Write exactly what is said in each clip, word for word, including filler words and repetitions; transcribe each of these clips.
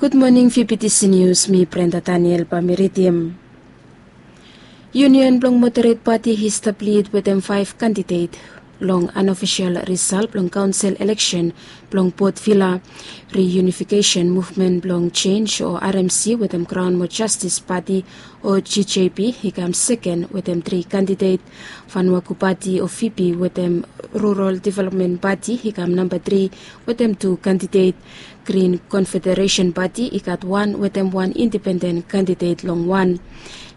Gud moning, V B T C News, mi Brenda Daniel bae mi ridim. Yunion blong Moderate Pati i stap lid wetem faef kandidet long anofisol risal blong kaonsel eleksen blong Port Vila. Reunification Movement blong Jenj o R M C wetem Kraon mo Jastis Pati o G J P i kam seken wetem tri kandidet. Vanuaku Pati o Fipi wetem Rural Development Pati i kam namba tri wetem tu kandidet. Grin Konfederesen Pati i gat wan wetem wan indipenden kandidet long wan.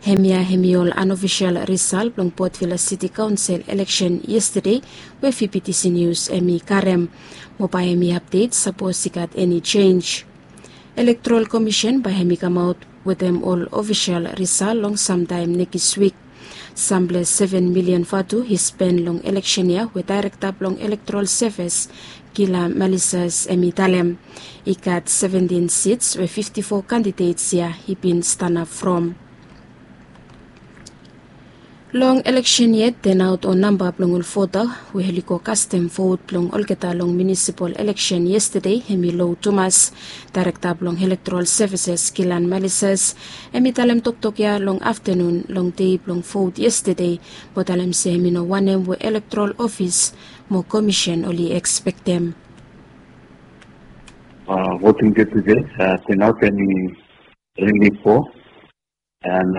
Hemia hemi ol anofisol risal blong Port Vila Siti Kaonsel eleksen yestede we V B T C News hemi karem. Mo bae hemi apdet sapos i gat eni jenj. Elektorol Komisen bae hemi kamaot wetem ol ofisol risal long samtaem nekis wik. Samble seven milian vatu i spen long eleksen ya we daerekta blong Elektorol Sevis Gila Malisas hemi talem. I gat seventin sits we fifti fo kandidets ya i bin stanap from. Long eleksen yet, tenaot o namba blong ol vota we oli go kastem vot blong olgeta long munisipol eleksen yestede hemi lo tumas. Daerekta blong Elektorol Sevises Gilan Malisas hemi talem toktok ya long aftenun long dei blong vot yestede mo talem se hemi no wanem we elektorol ofis mo komisen oli ekspektem. Voting dei tude, tenaot hemi rili po. And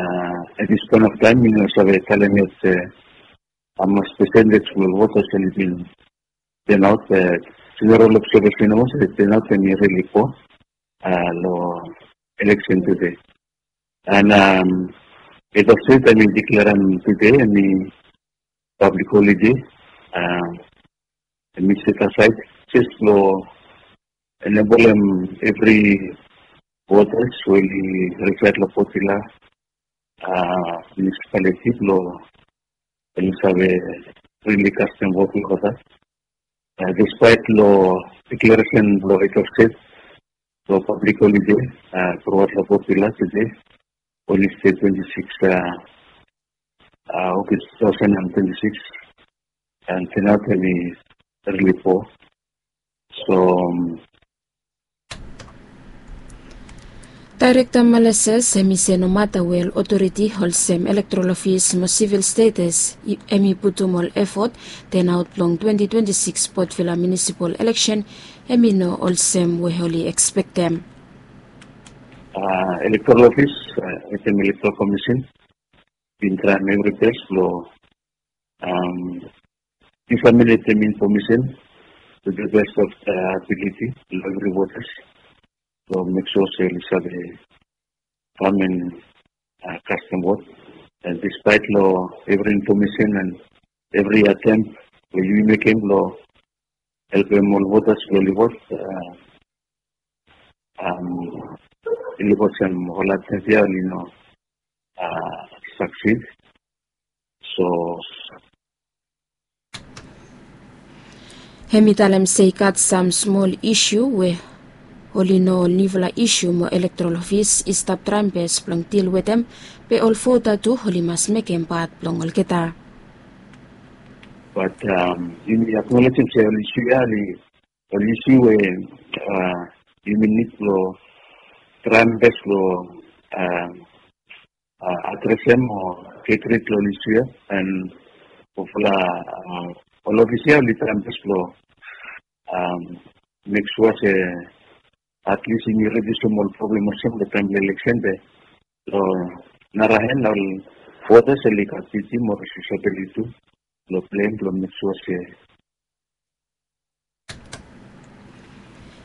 at this point of time mi no save talem yet se hamas pesendej blong ol votas oli bin tenaot. Be jeneral obsevesen blong ol se tenaot hemi rili po long eleksen tude. And Head of State hemi diklerem tude hemi pablik holide, hemi set asaed jes blong enebolem evri votas we oli resaed long Port Vila munisipaliti blong oli save rili kastem vot long olgeta. Despaet long dikleresen blong Head of State blong pablik holide truaot long Port Vila tude, Wednesday twenti sikis August two thousand and twenty-six, and tenaot hemi rili po. So Daerekta Malisas hemi se nomata we ol otoriti olsem elektorol ofis mo sivil status hemi putum ol efot, tenaot blong twenti twenti sikis Port Vila munisipol eleksen hemi no olsem we oli ekspektem. Elektorol ofis wetem Elektorol Komisen bin traem evri bes blong diseminetem infomesen to the best of their ability long evri votas blong mek sua se oli save kam and kastem vot. And despaet long evri infomesen and evri atempt we yumi mekem blong helpem ol votas blong oli vot, oli vot sem ol atempt ya oli no saksid. So hemi talem se i gat sam smol isu we oli no ol niufala isu mo elektorol ofis i stap traem bes blong dil wetem, be ol vota tu oli mas mekem pat blong olgeta. Bat yumi aknolejem se ol isu ya oli ol isu we yumi nid blong traem bes blong adresem o get rid long ol isu ya. And hopefully ol ofis ya oli traem bes blong mek sua se at least yumi rediusim ol problem olsem long taem blong eleksen, be long nara hen ol votas oli gat diti mo responsibiliti tu long plem blong mek sua se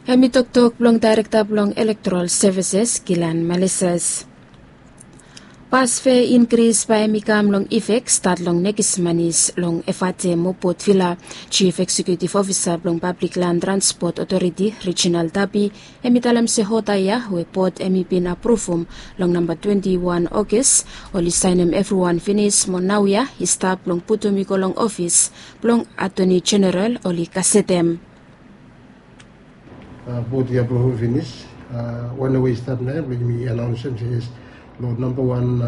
Hemi toktok blong daerekta blong Elektorol Sevises Gilan Malisas. Pas fea inkris bae hemi kam long ifek stat long nekis manis long Efate mo Port Vila. Jif Eksekutif Ofisa blong Pablik Lan Transpot Otoriti Reginald Tapi hemi talem se hota ya we bot hemi bin apruvum long namba twenti wan Ogis oli saenem evriwan finis mo naoia i stap blong putum i go long ofis blong Atoni Jeneral oli gasetem. Bot ya blong hom finis. Wan we i stap naoia blong yumi anaonsem se yes, long namba wan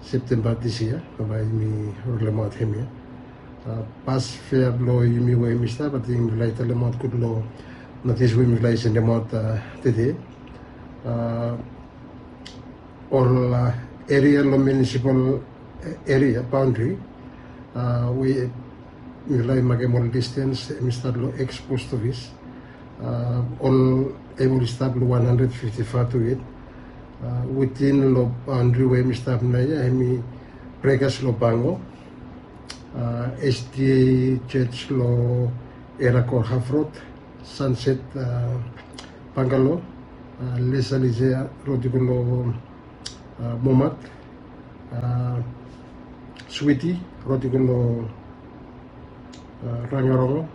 Septemba dis yia bae yumi rolemaot hemia. Pas fea blong yumi we yumi stap, ating yumi laik talemaot gud long notis we yumi laik sendemaot tede. A, ol, a, eria long munisipal eria baondri, a, we mifala i makem ol distens, hemi stap long eks post ofis, a, ol hem oli stap long wan handred fifti fatu yet. A, witin long baondri we hemi stap naoia, hemi Brekas long Bango, a, SDA Jos long Erakor Hafrod, Sanset, a, Bangalo, a, Lesalisia rod i go long, a, Momat, a, Switi rod i go long, a, Rangarongo,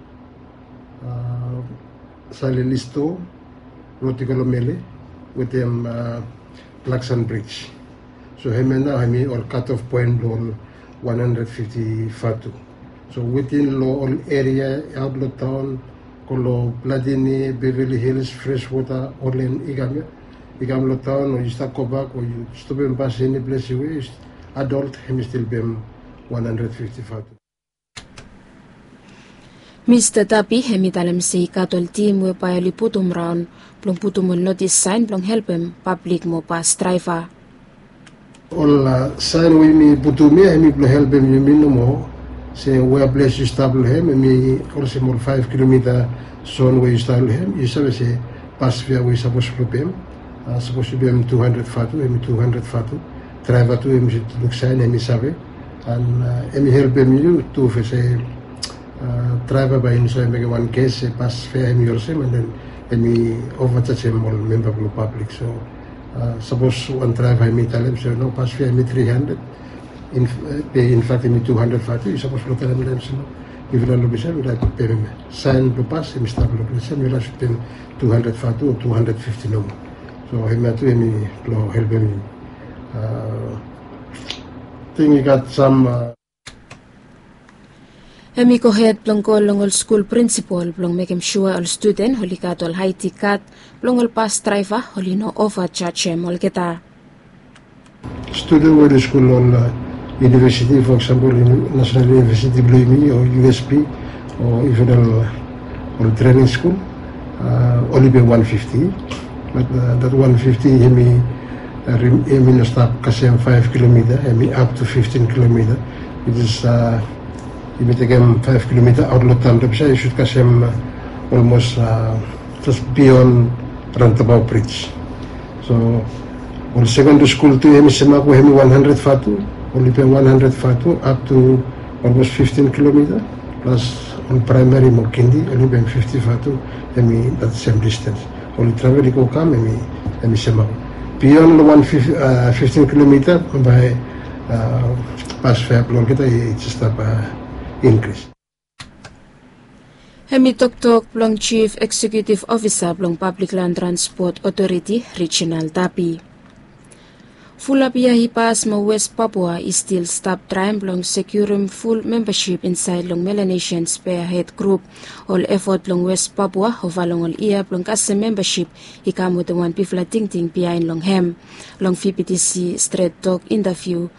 a, Salelisto rod i go long Mele wetem, a, Blaksan Brij. So hemia nao hemi ol kat of poen blong ol wan handred fifti fatu. So witin long ol eria aot long taon, go long Platini, Beverly Hills, Freshwater, Olen, i kam ia, i kam long taon o yu stap gobak o yu stopem bas eni ples we yu adol, hemi stil pem wan handred fifti fatu. Mista Tapi hemi talem se i gat ol tim we bae oli putum raon blong putum ol notis saen blong helpem pablik mo bas draeva. Ol, a, saen we yumi putum ia hemi blong helpem yumi nomo se wea ples yu stap long hem, hemi olsem ol faef kilomita zon we yu stap long hem, yu save se bas fea we yu sapos blong pem, a, sapos yu pem tu handred fatu, hemi tu handred fatu. Draeva tu hemi luk saen, hemi save. An, a, hemi helpem yu tu, se, a, draeva bae i no save mekem wan ges se bas fea hemi olsem, an den hemi ovajajem ol memba blong pablik. So, a, sapos wan draeva hemi talem se no, bas fea hemi tri handred, in, e, be in fact hemi tu handred fatu, yu sapos blong talem long hem se no, mifala long ples ia mifala pem hemia. Saen blong bas hemi stap long ples ia, mifala sud pem tu handred fatu o tu handred fifti nomo. So hemia tu hemi blong helpem yu. A, ting i gat sam, a, Hemi gohed blong go long ol skul prinsipol blong mekem sua ol studen oli gat ol ID kad blong ol bas draeva oli no ovajajem olgeta. Studen we oli skul long, a, univesiti, fo eksampol, Nasenal Univesiti blong yumi o USP o even ol, ol trening skul, a, oli pem wan fifti. Bat, a, dat wan fifti hemi, a, hemi no stap kasem faef kilomita, hemi up to fiftin kilomita. Which is, a, yumi tekem faef kilomita aot long taon, be yu sud kasem, a, olmos, a, jes bion raontabaot brij. So ol sekendri skul tu hemi semak we hemi wan handred fatu, oli pem wan handred fatu up to olmos fiftin kilomita, plas ol praemari mo kindi oli pem fifti fatu, hemi dat sem distens. Oli travel i go kam, hemi, hemi semak. Bion long wan fif-, a, fiftin kilomita bae, a, bas fea blong olgeta i jes stap, a, inkris. Hemi toktok blong Jif Eksekiutif Ofisa blong Pablik Lan Transpot Otoriti, Reginald Tapi. Fulap yia i pas mo West Papua i stil stap traem blong sekiurem ful membasip insaed long Melanesian Spearhead Group. Ol efot blong West Papua ova long ol yia blong kasem membasip i kam wetem wan bigfala tingting biaen long hem. Long VBTC Stret Tok intaviu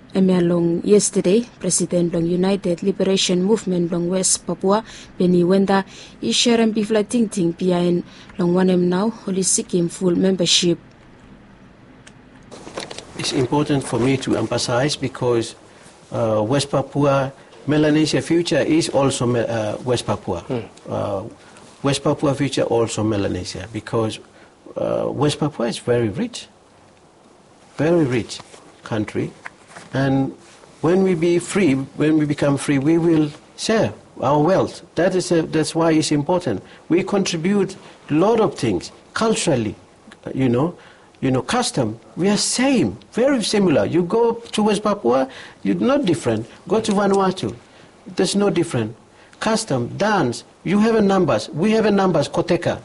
hemia long yestade, presiden blong United Liberation Movement blong West Papua, Benny Wenda, i serem bigfala tingting biaen long wanem nao oli sikim ful membasip. It's important for me to emphasize because, uh, West Papua, Melanesia future is also Me-, uh, West Papua. Uh, West Papua future also Melanesia because, uh, West Papua is very rich, very rich country. And when we be free, when we become free, we will share our wealth. That is a, that's why it's important. We contribute a lot of things culturally, you know, you know, custom. We are same, very similar. You go to West Papua, you're not different. Go to Vanuatu, there's no different. Custom, dance, you have a numbers, we have a numbers, Koteka.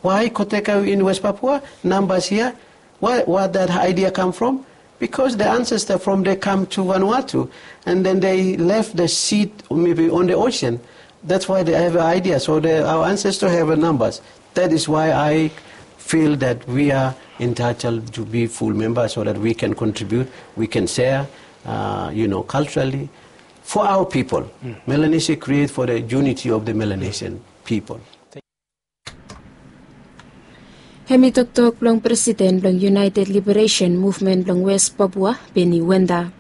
Why Koteka in West Papua, numbers here? Why, where that idea come from? Because the ancestor from they come to Vanuatu, and then they left the seed maybe on the ocean. That's why they have an idea. So they, our ancestors have a numbers. That is why I feel that we are entitled to be full members so that we can contribute, we can share, uh, you know, culturally for our people. Melanesia create for the unity of the Melanesian people. Hem i toktok blong presiden blong United Liberation Movement blong West Papua, Benny Wenda.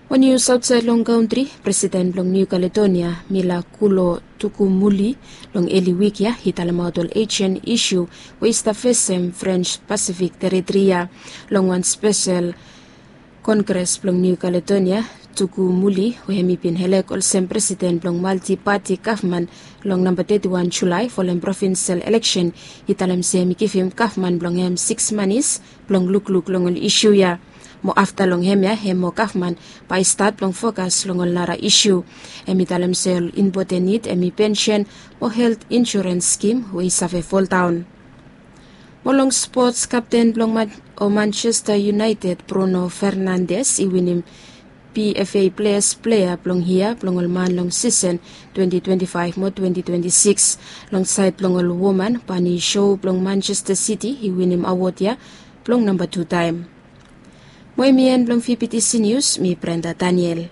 Mo nius aotsaed long kantri, presiden blong Niu Kaledonia, Mila Kulo Tukumuli, long eli wik ya i talemaot ol ejen isu we i stap fesem French Pasifik teritri ya long wan spesel Kongres blong Niu Kaledonia. Tukumuli, we hem i bin elek olsem presiden blong maltipati gavman long namba teti wan Julae folem provinsel eleksen, i talem se hem i givim gavman blong hem siks manis blong lukluk long ol isu ya. Mo afta long hemia, hem mo gavman bae i stat blong fokas long ol nara isu. Hem i talem se ol impoten nid hem i pensen mo helt insurens skim we i save foldaon. Mo long spots, kapten blong Man- o Manchester United, Bruno Fernandes, i winim PFA Players Player blong Yia blong ol man long sisen twenti twenti faef mo twenti twenti sikis. Long saed blong ol woman, Pani Show blong Manchester City i winim awod ya blong namba tu taem. Mo hem i en blong VBTC Nius, mi Brenda Daniel.